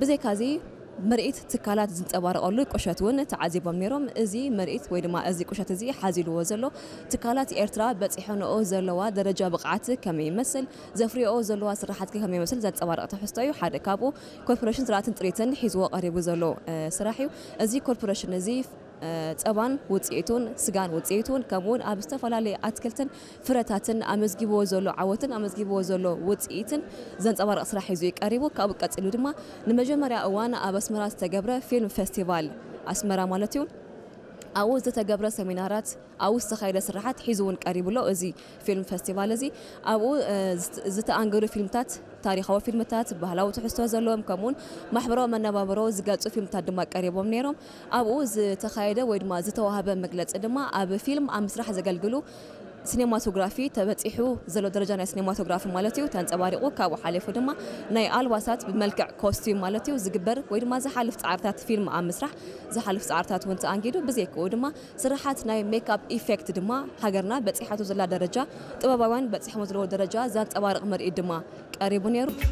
ብዘይካዚ ምርኢት ትካላት ዝንጸባረቐሉ ቁሸት እውን ተዓዚቦም ነይሮም። እዚ ምርኢት ወይ ድማ እዚ ቁሸት እዚ ሓዚልዎ ዘሎ ትካላት ኤርትራ በጺሐንኦ ዘለዋ ደረጃ ብቕዓት ከመይ ይመስል፣ ዘፍርዮ ዘለዋ ስራሓት ከመይ ይመስል ዘንጸባርቕ ትሕዝቶ እዩ። ሓደ ካብኡ ኮርፖሬሽን ዝራእትን ጥሪትን ሒዝዎ ቀሪቡ ዘሎ ስራሕ እዩ። እዚ ኮርፖሬሽን እዚ ጸባን ውፅኢቱን፣ ስጋን ውፅኢቱን፣ ከምኡውን ኣብ ዝተፈላለዩ ኣትክልትን ፍረታትን ኣመዝጊብዎ ዘሎ ዓወትን ኣመዝጊብዎ ዘሎ ውፅኢትን ዘንፀባርቕ ስራሕ ሒዙ እዩ ቀሪቡ። ካብኡ ቀፂሉ ድማ ንመጀመርያ እዋን ኣብ ኣስመራ ዝተገብረ ፊልም ፌስቲቫል ኣስመራ ማለት እዩ፣ ኣብኡ ዝተገብረ ሰሚናራት፣ ኣብኡ ዝተኻየደ ስራሓት ሒዙ እውን ቀሪቡ ኣሎ። እዚ ፊልም ፌስቲቫል እዚ ኣብኡ ዝተኣንገዱ ፊልምታት፣ ታሪኻዊ ፊልምታት፣ ባህላዊ ትሕዝቶ ዘለዎም ከምኡውን ማሕበራዊ መነባብሮ ዝገልፁ ፊልምታት ድማ ቀሪቦም ነይሮም። ኣብኡ ዝተኻየደ ወይ ድማ ዝተዋህበ መግለፂ ድማ ኣብ ፊልም ኣብ ምስራሕ ዘገልግሉ ሲኔማቶግራፊ ተበፂሑ ዘሎ ደረጃ ናይ ሲኔማቶግራፊ ማለት እዩ ተንፀባሪቑ። ካብኡ ሓሊፉ ድማ ናይ ኣልባሳት ብመልክዕ ኮስቲም ማለት እዩ ዝግበር ወይ ድማ ዝሓልፍ ፃዕርታት ፊልም ኣብ ምስራሕ ዝሓልፍ ፃዕርታት እውን ተኣንጊዱ። ብዘይክኡ ድማ ስራሓት ናይ ሜክኣፕ ኢፌክት ድማ ሃገርና በፂሓቶ ዘላ ደረጃ፣ ጥበባውያን በፂሖሞ ዘለዎ ደረጃ ዘንፀባርቕ ምርኢት ድማ ቀሪቡ ነይሩ።